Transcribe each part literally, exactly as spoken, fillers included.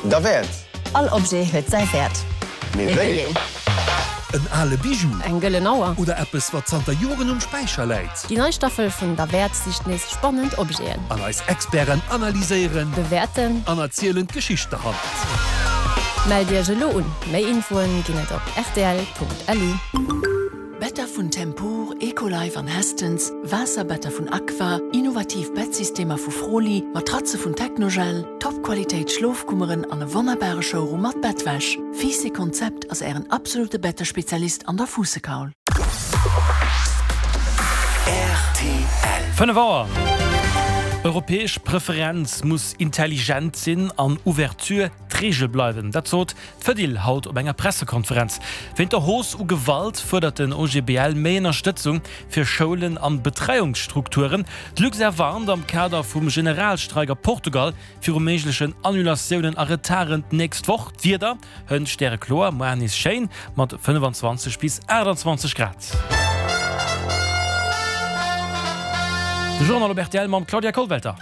Derwäert. All Objet huet säi Wäert. Mee wéi een? En ale Bijou. Eng gëllen Auer. Oder eppes, wat zanter Joren um Späicher läit. Déi nei Staffel vun Derwäert sicht nees spannend Objeten. An eis Experten analyséieren. Bewäerten. An erzielen d'Geschicht derhannert. Mellt Iech elo un! Méi Infoen ginn et op rtl.lu. Better vun Tempur, Ecolife an Hästens, Waasserbetter vun Aqua, innovativ Bettsystemer vu Froli, Matratze vun Technogel, Top-Qualitéit Schlofkummeren an e wonnerbare Showroom mat Bettwäsch. Fiiss Konzept ass ären absolute Bettespezialist an der Fuussekaul. Fënnef Auer. Europäesch Preferenz muss intelligent sinn an Ouverture d'Reegel bleiwen. Dat sot d'Fedil haut op enger Pressekonferenz. Wéint der Hausse u Gewalt fuerdert den O G B L méi Ënnerstëtzung fir Schoulen an Betreiungsstrukturen. D'Luxair warnt am Kader vum Generalstreik a Portugal viru méiglechen Annulatiounen a Retarden d'nächst Woch. D'Wieder, Hënt stärekloer, muer nees schéin mat fënnefanzwanzeg bis aachtanzwanzeg Grad. De Journal op R T L mam Claudia Kollwelter.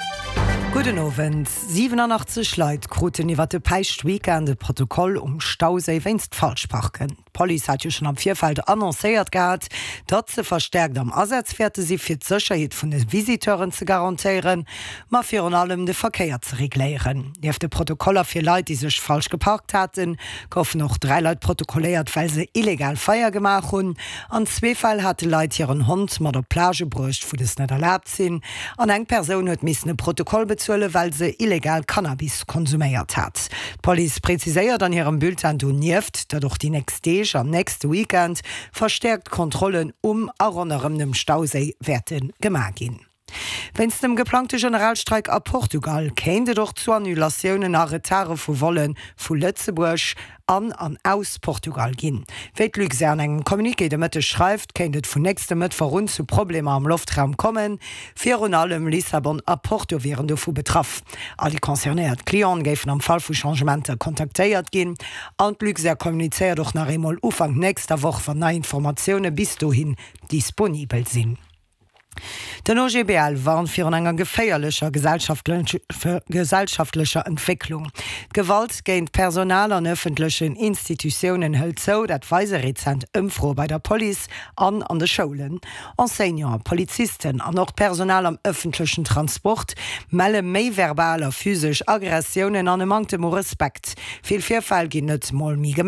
Gudden Owend. siwenanachtzeg Leit kruten iwwer de Päischtweekend e Protokoll um Stauséi wéinst Falschparken. D'Police hat jo schonn am Virfeld annoncéiert gehat, datt se verstäerkt am Asaz wäerte si fir d'Sécherheet vun de Visiteuren ze garantéieren, ma virun allem de Verkéier ze regléieren. Nieft de Protokoller fir Leit, déi sech falsch geparkt haten, goufen och dräi Leit protokolléiert, well se illegal Feier gemaach hunn. An zwee Fäll hate Leit hiren Hond mat op Plagë bruecht, wou dës net erlaabt sinn. An eng Persoun huet missen e Protokoll bezuelen, well se illegal Cannabis konsuméiert hat. D'Police präziséiert an hirem Bulletin donieft, datt och déi nächst Deeg an nächste Weekend verstäerkt Kontrollen um a ronderëm dem Stauséi wäerte gemaach ginn. Wéinst dem geplangte Generalstreik a Portugal kéint et och zu Annulatiounen a Retarde vu Volle vu Lëtzebuerg an an aus Portugal ginn. Wéi d'Luxair an engem Communiqué de Mëtteg schreift, kéint et vun nächste Mëttwoch un zu Problemer am Loftraum kommen. Virun allem Lissabon a Porto wieren dovu betraff. All déi concernéiert Clienten géifen am Fall vu Changementer kontaktéiert ginn. An d'Luxair kommunizéiert och nach eemol Ufank nächster Woch, wann nei Informatioune bis dohin disponibel sinn. Den O G B L warnt virun enger geféierlecher gesellschaftlecher Entwécklung. D'Gewalt géint Personal an ëffentlechen Institutiounen hëlt zou, dat weise rezent Ëmfroe bei der Police an an de Schoulen. Enseignanten, Polizisten an och d'Personal am ëffentlechen Transport melle méi verbal a physesch Aggressiounen an e Manktem u Respekt. Vill Virfäll ginn net mol méi gemellt.